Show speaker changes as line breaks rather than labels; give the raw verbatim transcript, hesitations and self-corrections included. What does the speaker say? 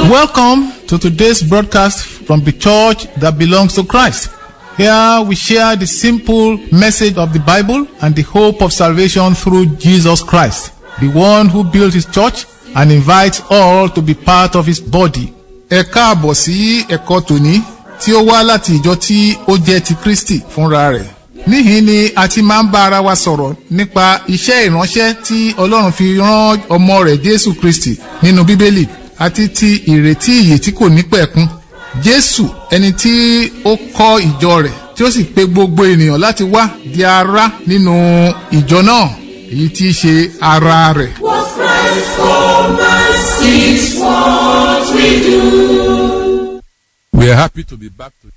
Welcome to today's broadcast from the church that belongs to Christ. Here we share the simple message of the Bible and the hope of salvation through Jesus Christ, the one who built his church and invites all to be part of his body.
Ẹ káàbọ̀ sí ẹ̀kọ́ tòní tí ó wá láti ìjọ tí ó jẹ́ ti Kristi fúnra rẹ̀. Níhìn ni a ti máa ń bá ara wa sọ̀rọ̀ nípa iṣẹ́ ìránṣẹ́ tí Ọlọ́run fi rán ọmọ rẹ̀ Jésù Kristi nínú Bíbélì àti ti ìrètí ìyè tí kò ní pẹ̀kun. Jésù ẹni tí ó kọ́ ìjọ rẹ̀ tí ó sì pe gbogbo ènìyàn láti wá di ara nínú ìjọ náà èyí tí í ṣe ara rẹ̀.
What Christ commands is what we do.
We are happy to be back to